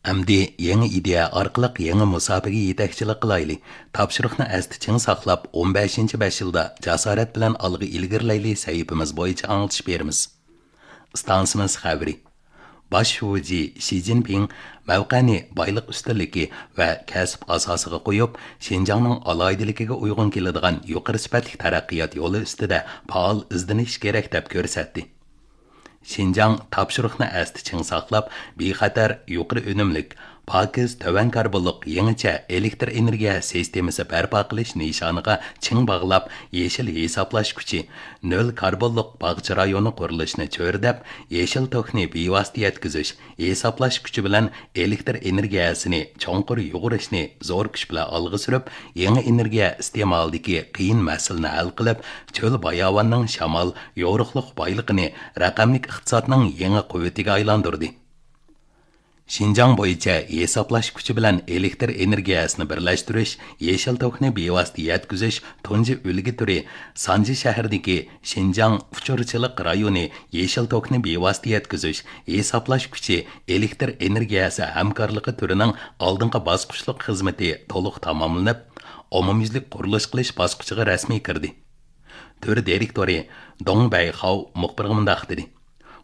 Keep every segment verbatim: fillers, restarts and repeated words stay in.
ئەمدى يېڭى ئىدىيە ئارقىلىق يېڭى مۇساپىگە يېتەكچىلىك قىلايلى. تاپشۇرۇقنى ئەستە چىڭ ساقلاپ، ئون بەشىنچى بەش يىلدا جاسارەت بىلەن ئالغا ئىلگىرىلەيلى سەھىپىمىز بويىچە ئاڭلىتىش بېرىمىز. ئىستانسىمىز خەۋىرى. باش شۇجى شى جىنپىڭ مەۋقەنى بايلىق ئۈستۈنلۈكى ۋە كەسىپ ئاساسىغا قويۇپ، شىنجاڭنىڭ ئالاھىدىلىكىگە ئۇيغۇن كېلىدىغان يۇقىرى سۈپەتلىك تەرەققىيات يولى ئۈستىدە پائال ئىزدىنىش كېرەك، دەپ كۆرسەتتى. شىنجاڭ تاپشۇرۇقنى ئەستە چىڭ ساقلاپ، بىخەتەر، يۇقىرى ئۈنۈملۈك، پاكىز، تۆۋەن كاربونلۇق يېڭىچە ئېلېكتر ئېنېرگىيە سىستېمىسى بەرپا قىلىش نىشانىغا چىڭ باغلاپ، يېشىل ھېسابلاش كۈچى، نۆل كاربونلۇق باغچە رايونى قۇرۇلۇشىنى چۆرىدەپ، يېشىل توكنى بىۋاسىتە يەتكۈزۈش، ھېسابلاش كۈچى بىلەن ئېلېكتر ئېنېرگىيەسىنى چوڭقۇر يۇغۇرۇشنى زور كۈچ بىلەن ئالغا سۈرۈپ، يېڭى ئېنېرگىيە ئىستېمالىدىكى قىيىن مەسىلىنى ھەل قىلىپ، چۆل باياۋاننىڭ شامال، يورۇقلۇق بايلىقىنى رەقەملىك ئىقتىسادنىڭ يېڭى قۇۋۋىتىگە ئايلاندۇردى. شىنجاڭ بويىچە ھېسابلاش كۈچى بىلەن ئېلېكتر ئېنېرگىيەسىنى بىرلەشتۈرۈش، يېشىل توكنى بىۋاسىتە يەتكۈزۈش تۇنجى ئۈلگە تۈرى سانجى شەھىرىدىكى شىنجاڭ ئۇچۇرچىلىق رايونى يېشىل توكنى بىۋاسىتە يەتكۈزۈش، ھېسابلاش كۈچى، ئېلېكتر ئېنېرگىيەسى ھەمكارلىقى تۈرىنىڭ ئالدىنقى باسقۇچلۇق خىزمىتى تولۇق تاماملىنىپ، ئومۇميۈزلۈك قۇرۇلۇش قىلىش باسقۇچىغا رەسمىي كىردى. تۈر دىرېكتورى دۇڭ بەيخاۋ مۇخبىرغا مۇنداق دېدى: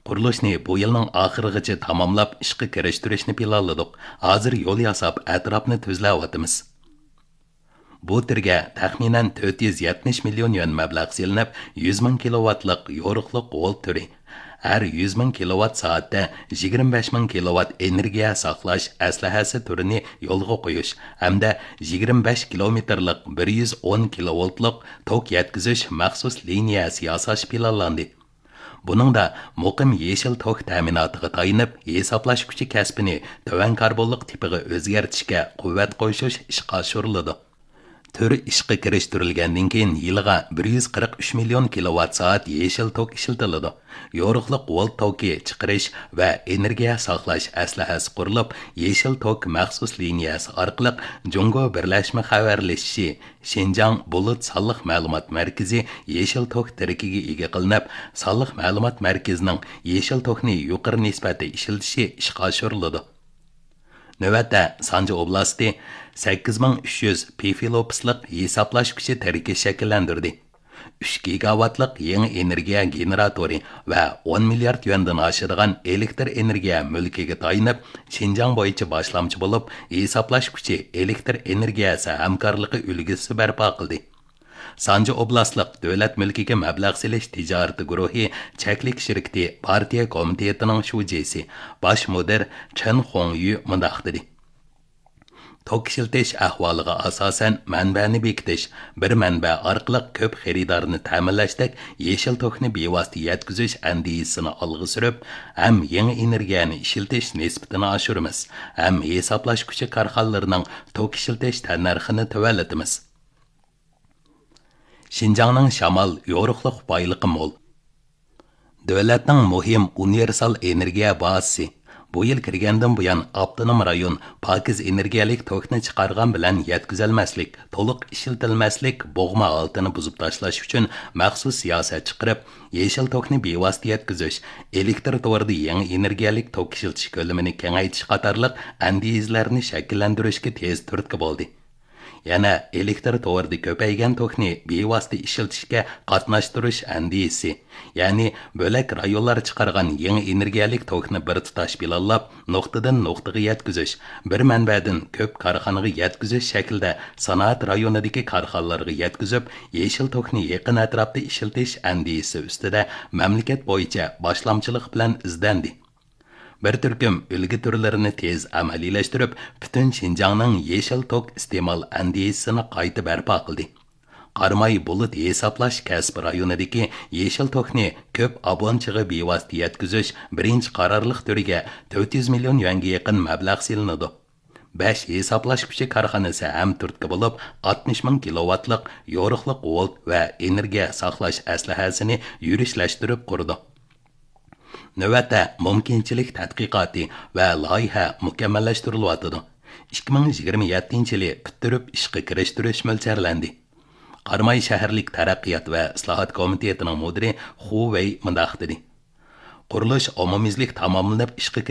«قۇرۇلۇشنى بۇ يىلنىڭ ئاخىرىغىچە تاماملاپ ئىشقا كىرىشتۈرۈشنى پىلانلىدۇق. ھازىر يول ياساپ، ئەتراپنى تۈزلەۋاتىمىز.» بۇ تۈرگە تەخمىنەن تۆت يۈز يەتمىش مىليون يۈەن مەبلەغ سېلىنىپ، يۈز مىڭ كىلوۋاتلىق يورۇقلۇق ۋولت تۈرى، ھەر يۈز مىڭ كىلوۋات سائەتتە يىگىرمە بەش مىڭ كىلوۋات ئېنېرگىيە ساقلاش ئەسلىھەسى تۈرىنى يولغا قويۇش ھەمدە يىگىرمە بەش كىلومېتىرلىق بىر يۈز ئون كىلوۋولتلۇق توك يەتكۈزۈش مەخسۇس لىنىيەسى ياساش پىلانلاندى. بۇنىڭدا مۇقىم يېشىل توك تەمىناتىغا تايىنىپ، ھېسابلاش كۈچى كەسپىنى تۆۋەن كاربونلۇق تىپىغا ئۆزگەرتىشكە قۇۋۋەت قوشۇش ئىشقا ئاشۇرۇلىدۇ. تۈر ئىشقا كىرىشتۈرۈلگەندىن كېيىن يىلىغا بىر يۈز قىرىق ئۈچ مىليون كىلوۋات سائەت يېشىل توك ئىشلىتىلىدۇ. يورۇقلۇق ۋولت توكى چىقىرىش ۋە ئېنېرگىيە ساقلاش ئەسلىھەسى قۇرۇلۇپ، يېشىل توك مەخسۇس لىنىيەسى ئارقىلىق جۇڭگو بىرلەشمە خەۋەرلىشىشى، شىنجاڭ بۇلۇت سانلىق مەلۇمات مەركىزى يېشىل توك تىرىكىگە ئىگە قىلىنىپ، سانلىق مەلۇمات مەركىزىنىڭ يېشىل توكنى يۇقىرى نىسبەتتە ئىشلىتىشى ئىشقا ئاشۇرۇلىدۇ. نۆۋەتتە سانجى ئوبلاستى سەككىز مىڭ ئۈچ يۈز پىفىلوپسلىق ھېسابلاش كۈچى تىرىكى شەكىللەندۈردى. ئۈچ گىگاۋاتلىق يېڭى ئېنېرگىيە گېنېراتورى ۋە ئون مىليارد يۈەندىن ئاشىدىغان ئېلېكتر ئېنېرگىيە مۈلكىگە تايىنىپ، شىنجاڭ بويىچە باشلامچى بولۇپ، ھېسابلاش كۈچى، ئېلېكتر ئېنېرگىيەسى ھەمكارلىقى ئۈلگىسى بەرپا قىلدى. سانجى ئوبلاستلىق دۆلەت مۈلكىگە مەبلەغ سېلىش تىجارىتى گۇرۇھى چەكلىك شىركىتى پارتىيە كومىتېتىنىڭ شۇجىسى، باش مۇدىر چېن خۇڭيۈ مۇنداق دېدى: توك ئىشلىتىش ئەھۋالىغا ئاساسەن، مەنبەنى بېكىتىش، بىر مەنبە ئارقىلىق كۆپ خېرىدارنى تەمىنلەشتەك يېشىل توكنى بىۋاسىتە يەتكۈزۈش ئەندىزىسىنى ئالغا سۈرۈپ، ھەم يېڭى ئېنېرگىيەنى ئىشلىتىش نىسبىتىنى ئاشۇرىمىز، ھەم ھېسابلاش كۈچى كارخانىلىرىنىڭ توك ئىشلىتىش تەننەرخىنى تۆۋەنلىتىمىز. شىنجاڭنىڭ شامال، يورۇقلۇق بايلىقى مول. دۆلەتنىڭ مۇھىم ئۇنىۋېرسال ئېنېرگىيە بازىسى. بۇ يىل كىرگەندىن بۇيان، ئاپتونوم رايون پاكىز ئېنېرگىيەلىك توكنى چىقارغان بىلەن يەتكۈزەلمەسلىك، تولۇق ئىشلىتىلمەسلىك بوغما ھالىتىنى بۇزۇپ تاشلاش ئۈچۈن مەخسۇس سىياسەت چىقىرىپ، يېشىل توكنى بىۋاسىتە يەتكۈزۈش، ئېلېكتر تورىدا يېڭى ئېنېرگىيەلىك توك ئىشلىتىش كۆلىمىنى كېڭەيتىش قاتارلىق ئەندىزىلەرنى شەكىللەندۈرۈشكە تېز تۈرتكە بولدى. يەنە ئېلېكتر تورىدا كۆپەيگەن توكنى بىۋاسىتە ئىشلىتىشكە قاتناشتۇرۇش ئەندىزىسى، يەنى بۆلەك رايونلار چىقارغان يېڭى ئېنېرگىيەلىك توكنى بىر تۇتاش پىلانلاپ، نۇقتىدىن نۇقتىغا يەتكۈزۈش، بىر مەنبەدىن كۆپ كارخانىغا يەتكۈزۈش شەكلىدە سانائەت رايونىدىكى كارخانىلارغا يەتكۈزۈپ، يېشىل توكنى يېقىن ئەتراپتا ئىشلىتىش ئەندىزىسى ئۈستىدە مەملىكەت بويىچە باشلامچىلىق بىلەن ئىزدەندى. بىر تۈركۈم ئۈلگە تۈرلىرىنى تېز ئەمەلىيلەشتۈرۈپ، پۈتۈن شىنجاڭنىڭ يېشىل توك ئىستېمال ئەندىزىسىنى قايتا بەرپا قىلدى. قاراماي بۇلۇت ھېسابلاش كەسىپ رايونىدىكى يېشىل توكنى كۆپ ئابۇنىچىغا بىۋاسىتە يەتكۈزۈش بىرىنچى قارارلىق تۈرىگە تۆت يۈز مىليون يۈەنگە يېقىن مەبلەغ سېلىنىدۇ. بەش ھېسابلاش كۈچى كارخانىسى ھەم تۈرتكە بولۇپ، ئاتمىش مىڭ كىلوۋاتلىق يورۇقلۇق ۋولت ۋە ئېنېرگىيە ساقلاش ئەسلىھەسىنى يۈرۈشلەشتۈرۈپ قۇرىدۇ. نۆۋەتتە مۇمكىنچىلىك تەتقىقاتى ۋە لايىھە مۇكەممەللەشتۈرۈلۈۋاتىدۇ. ئىككى مىڭ يىگىرمە يەتتىنچى يىلى پۈتتۈرۈپ ئىشقا كىرىشتۈرۈش مۆلچەرلەندى. قاراماي شەھەرلىك تەرەققىيات ۋە ئىسلاھات كومىتېتىنىڭ مۇدىرى خۇ ۋېي مۇنداق دېدى: قۇرۇلۇش ئومۇميۈزلۈك تاماملىنىپ ئىشقا